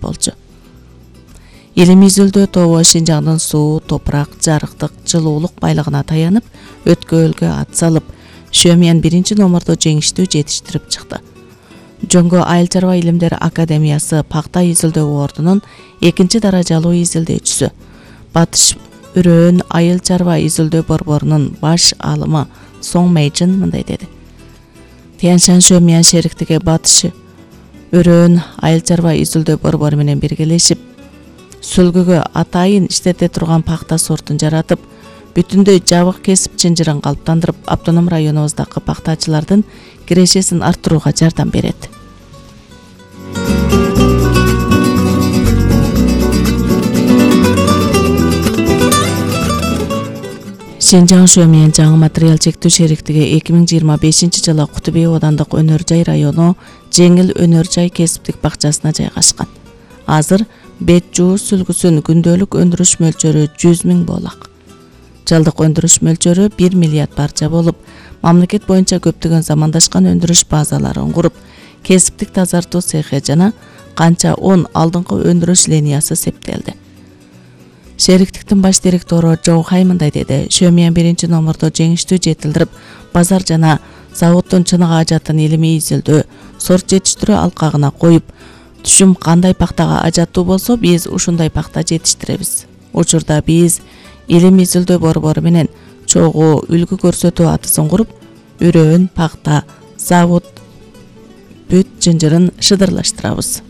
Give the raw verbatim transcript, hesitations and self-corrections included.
болчу. Илим изилдөө тобу Шинжаңдын суу, топурак, жарыктык, жылуулук байлыгына таянып, өткөлгө ат салып, Шөмиян биринчи номурду жеңиштүү жетиштирип чыкты. Жоңго Айыл чарба илимдери академиясы пакта изилдөө ордунун экинчи даражалуу изилдөөчүсү, Батыш Үрөөн Айыл чарба изилдөө борборунун баш алымы Соң Мэйжин мындай деди. Тяньшань Шөмиян шериктиги Батыш Үрөөн Айыл чарба изилдөө борбору менен биргелешип, сүлгүгө атайын иштете турган пакта сортун жаратып, бүтүндөй жабык кесип чынжырын калыптандырып, автоном районубуздагы пактачылардын кирешесин арттырууга жардам берет. Шинжаң Шөмиян жаңы материал чектүү шериктиги эки миң жыйырма бешинчи жылы Куту Бей оодандык өнөр жай району Жеңил өнөр жай кесиптик бакчасына жайгашкан. Азыр бет жуу сүлгүсүн күндөлүк өндүрүш мөлчөрү жүз миң боолак. Жылдык өндүрүш мөлчөрү бир миллиард барча болуп, мамлекет боюнча көптөгөн замандашкан өндүрүш базаларын куруп, кесиптик тазартуу цехи жана канча он алдыңкы өндүрүш линиясы септелди. Шериктиктин баш директору Жоу Хай мындай деди. Шөмиян биринчи номурду жеңиштүү жетилдирип, базар жана заводдун чыныгы ажатын илимий изилдөө, сорт жетиштирүү алкагына коюп, түшүм кандай пактага ажаттуу болсо, биз ушундай пакта жетиштиребиз. Учурда биз илим изилдөө борбору менен чогуу үлгү көрсөтүү атысын куруп, Үрөөн пакта завод бүт жынжырын шыдырлаштырабыз.